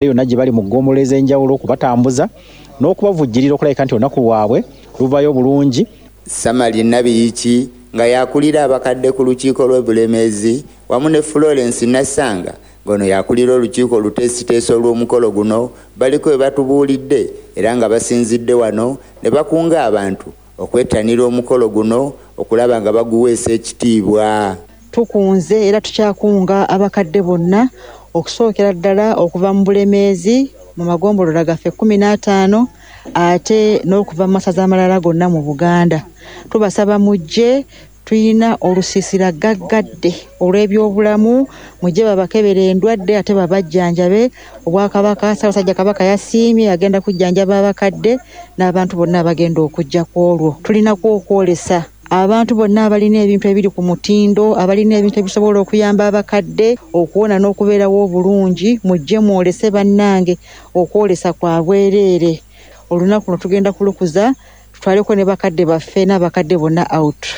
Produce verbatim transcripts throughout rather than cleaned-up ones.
Yonna gye bali mu ggombolola ez'enjawulo okubatambuza n'okubavujjirira okulabika nti olunaku lwabwe luvayo bulungi. Samali Nabiyiki nga y'akulira abakadde ku lukiiko lw'e Bulemeezi wamu ne Florence Nassanga ng'ono y'akulira olukiiko oluteesiteesi olw'omukolo guno baliko we batubuulidde era nga basinzidde wano ne bakunga abantu okwettanira omukolo guno okulaba nga baguweesa ekitiibwa. Tukunze era tukyakunga abakadde bonna okusookera ddala okuva mu Bulemeezi mu magombolola gaffe kkumi n'ataano ate n'okuva mu masaza amalala gonna mu Buganda. Tubasaba mujje, tuyina olusiisira gaggadde olw'ebyobulamu, mujje babakebere endwadde ate babajjanjabe. Obwakabaka, Ssaabasajja Kabaka yasiimye agenda kujjanjaba abakadde n'abantu bonna abagenda okujja ku olwo. Tulinako okwolesa abantu bonna abalina ebintu ebiri ku mutindo, abalina ebintu ebisobola okuyamba abakadde okuwona n'okubeerawo obulungi, mujje mwolese bannange okwolesa kwa bwereere. Olunaku luno tugenda kulukuza tutwaleko ne bakadde baffe n'abakadde bonna out.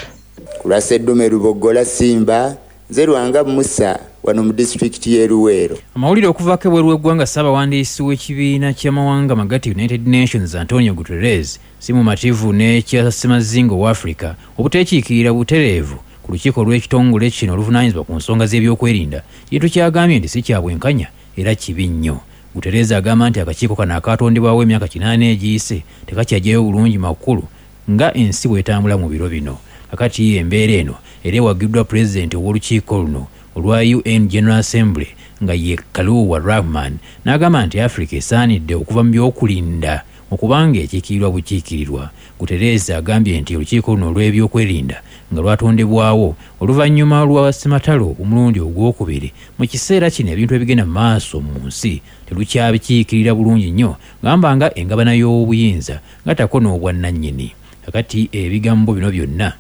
Ku lwa Sseddume Luboggola Simba, nze Lwanga Musa wano mu disitulikiti y'e Luweero. Amawulire okuvaako ebweru w'eggwanga, Ssaabawandiisi w'ekibiina ky'amawanga amagatte United Nations Antonio Guterres si mumativu n'ekya ssemazinga owa Africa obuteekiikirira butereevu ku lukiiko lw'ekitongole kino oluvunaanyizibwa ku nsonga z'ebyokwerinda, kintu ky'agambye nti si kya bwenkanya era kibi nnyo. Guterres agamba nti akakiiko kano akaatondebwawo emyaka kinaana egiyise tekakyajjayo bulungi makulu nga ensi bw'etambula mu biro bino. Kakati embeera eno era ewagiddwa pulezidenti ow'olukiiko luno olwa U N General Assembly nga ye Kaluwa Rahman n'agamba nti Africa esaanidde okuva mu by'okulinda okubanga ekiikirirwa bukiikirirwa. Guterres agambye nti olukiiko luno olw'ebyokwerinda nga lwatondebwawo oluvannyuma lwa ssematalo omulundi ogwokubiri, mu kiseera kino ebintu ebigenda mu maaso mu nsi terukyabikiikirira bulungi nnyo, gamba nga engabana y'obuyinza gattako n'obwannannyini. Kakati ebigambo bino byonna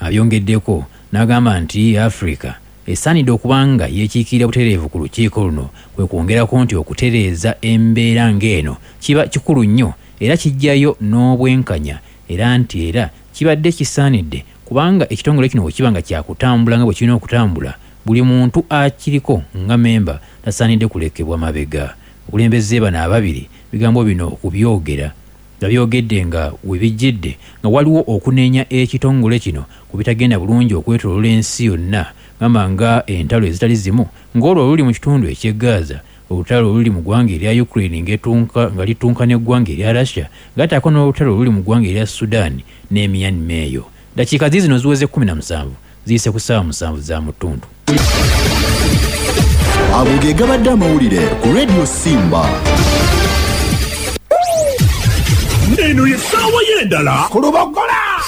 abyongeddeko n'agamba nti Africa esaanidde okuba nga yeekiikirira butereevu ku lukiiko luno, kwe kwongerako nti okutereeza embeera ng'eno kiba kikulu nnyo era kijjayo n'obwenkanya, era nti era kibadde kisaanidde kubanga ekitongole kino bwe kiba nga kyakutambula nga bwe kirina okutambula, buli muntu akiriko nga memba tasaanidde kulekebwa mabega. Abakulembeze bano ababiri bigambo bino okubyogera babyogedde nga we bijjidde nga waliwo okunenya ekitongole kino ku bitagenda bulungi okwetooloola ensi yonna, gamba nga entalo ezitali zimu ng'olwo oluli mu kitundu eky'e Gaza, olutalo oluli mu ggwanga erya Ukraine nga litunka n'eggwanga erya Russia, gattako n'olutalo oluli mu ggwanga erya Sudan ne Myanmar eyo. Dakiika ziizino ziweze kkumi na musanvu ziyise ku ssaawa musanvu za mu ttuntu. Ago ge gabadde amawulire ku Radio Simba. Eno ye ssaawa y'endala ku Luboggola.